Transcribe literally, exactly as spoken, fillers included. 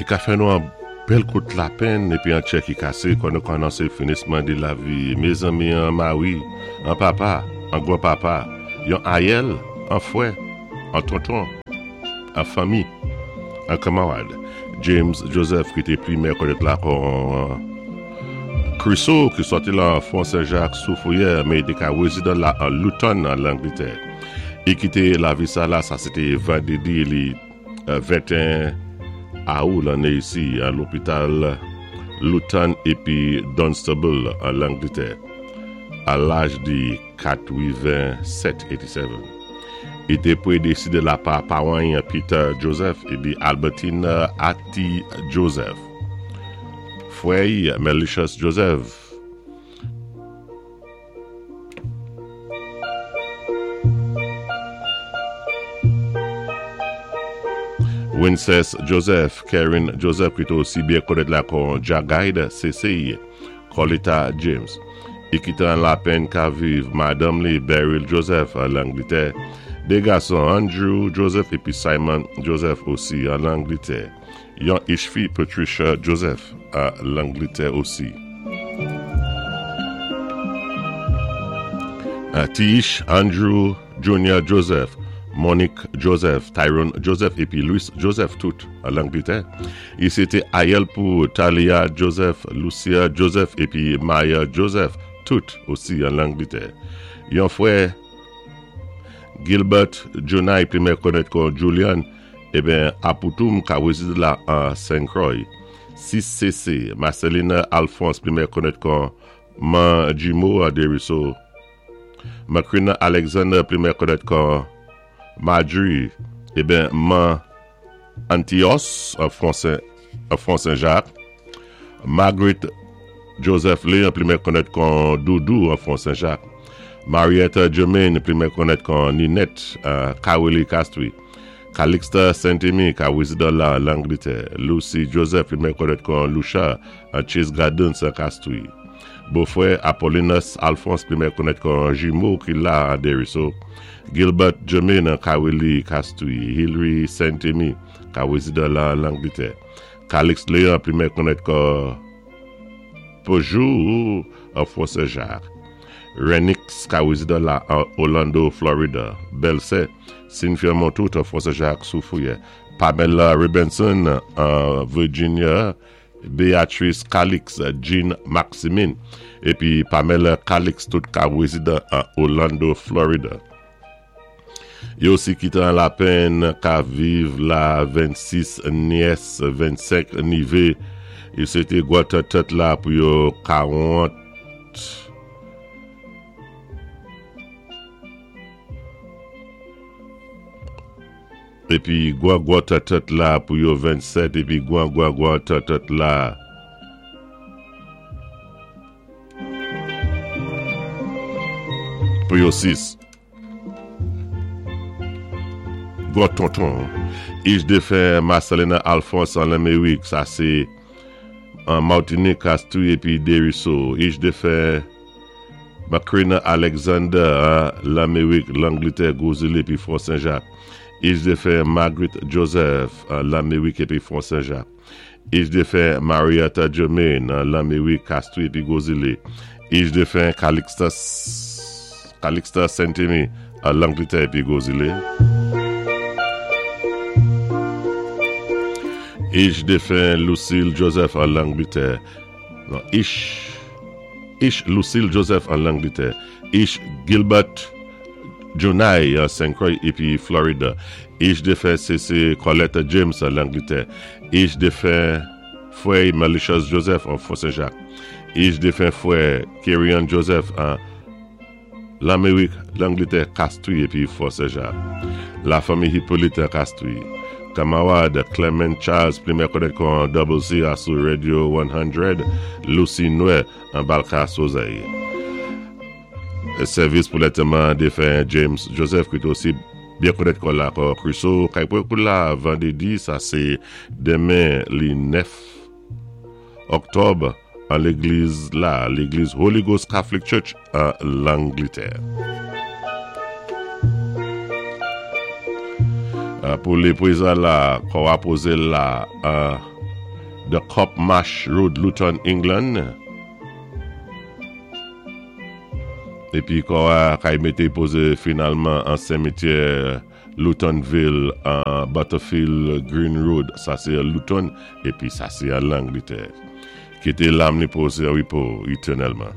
I ka fè nou an bèl kout lapenn épi an tchè ki kasé kon nou anonsé finisman di lavi. Mézanmi an mari, an papa, an gwan papa, yon ayèl, an fwè, an tonton, an fanmi, an kanmarad. James Joseph ki té pli mè konnèt la kon Crusoe ki sòti lan Fon Saint-Jacques Soufrière, mé i té ka wézidan la an Luton an Langlétè. I kité lavi sa la, sa sé té vandédi li venteyen awou lanné isi an lopital Luton épi Dunstable an Langlétè a laj di katwiven-sèt, eighty-seven. I té prédésédé la pa pawan Peter Joseph épi Albertine Atti Joseph. Fwè Melicious Joseph. Wincess Joseph, Karen Joseph, ki té osi byen konnèt la kon Jagaide C C, Colita James. I kité an lapenn ka viv madanm li Beryl Joseph an Langlétè. Dé gason Andrew Joseph épi Simon Joseph osi an Langlétè. Yon ich fi Patricia Joseph an Langlétè osi. Tish Andrew Junior Joseph, Monique Joseph, Tyrone Joseph épi Louis Joseph tout an Langlétè. I sé té ayèl pou Talia Joseph, Lucia Joseph épi Maya Joseph tout osi an Langlétè. Yon fwè Gilbert Junai pli mè konnèt kon Julian eben Apoutoum ka wézid la an Saint Croix. sis C C Marcelina Alphonse pli mè konnèt kon Man Jimo an Deriso. Macrina Alexander pli mè konnèt kon Marjorie eben Man Antios an Fon Saint-Jacques. Margaret Joseph Lee pli mè konnèt kon Doudou an Fon Saint-Jacques. Marietta Germaine pli mè konnèt kon Ninette uh, Kawili Castry. Calixta Saint-Aimé ka wézidan la Langlétè. Lucy Joseph pli mè konnèt kon Lucia an Chase Gardens an Castry. Bofwè Apollinus Alphonse pli mè konnèt kon Jimo ki la an Deriso. Gilbert Germaine an Kawili Castry. Hilary Saint-Aimé ka wézidan la Langlétè. Calix Léon pli mè konnèt kon Peugeot an Fort Saint-Jacques. Renix ka wézidan la an Orlando, Florida. Bèlsè Cynthia Montout an Fort Saint-Jacques Soufrière. Pamela Robinson an Virginia. Beatrice Calix, Jean Maximin épi Pamela Calix tout ka wézidan an Orlando, Florida. Yo osi kité an lapenn ka viv la vennsis nyès, vennsenk nivé. Yo sé té gwan tèt la pou yo karant épi gwan gwan tèt la pou yo vennsèt épi gwan gwan gwan tèt la pou yo sis. Gwan tonton. Ich défen Marcelina Alphonse an Lamérik, sa sé an Martinique, Castries épi Deriso. Ich défen Macrina Alexander an Lamérik, Langlétè, Gros-Islet épi Fort Saint-Jacques. Ich défen Margaret Joseph an Lamérik épi Fort Saint-Jacques. Ich défen Marietta Germaine an Lamérik, Castries épi Gros-Islet. Ich défen Calixta Calixta Saint-Aimé an Langlétè épi Gros-Islet. Ich défen Lucille Joseph an Langlétè. Non, Ich Ich Lucille Joseph an Langlétè. Ich Gilbert Jonai an Saint Croix épi Florida. Ich défen C C Colette James an Langlétè. Ich défen fwè Malicious Joseph an Fort Saint-Jacques. Ich défen fwè Kerian Joseph an Lamérik, Langlétè, Castries épi Fort Saint-Jacques. Lafanmi Hippolyte Castries. Kanmarad Clement Charles, pli mè konnèt kon Double C sou Radio san, Lucy Noé an Balka Sozay. Sèvis pou lantèman défen James Joseph, ki té osi byen konnèt kon la kon Crusoe, kay pou la vandédi, sa sé denmen li nèf oktòb an légliz la, légliz Holy Ghost Catholic Church an Langlétè. Pou lé prézan la, kò a pozé la an The Cop Mash Road, Luton, England. Épi kò-a kay mété pozé finalman an simityè Lutonville, an Butterfield Green Road, sa sé Luton, épi sa sé an Langlétè. Kité lam ni pozé an wépo étènèlman.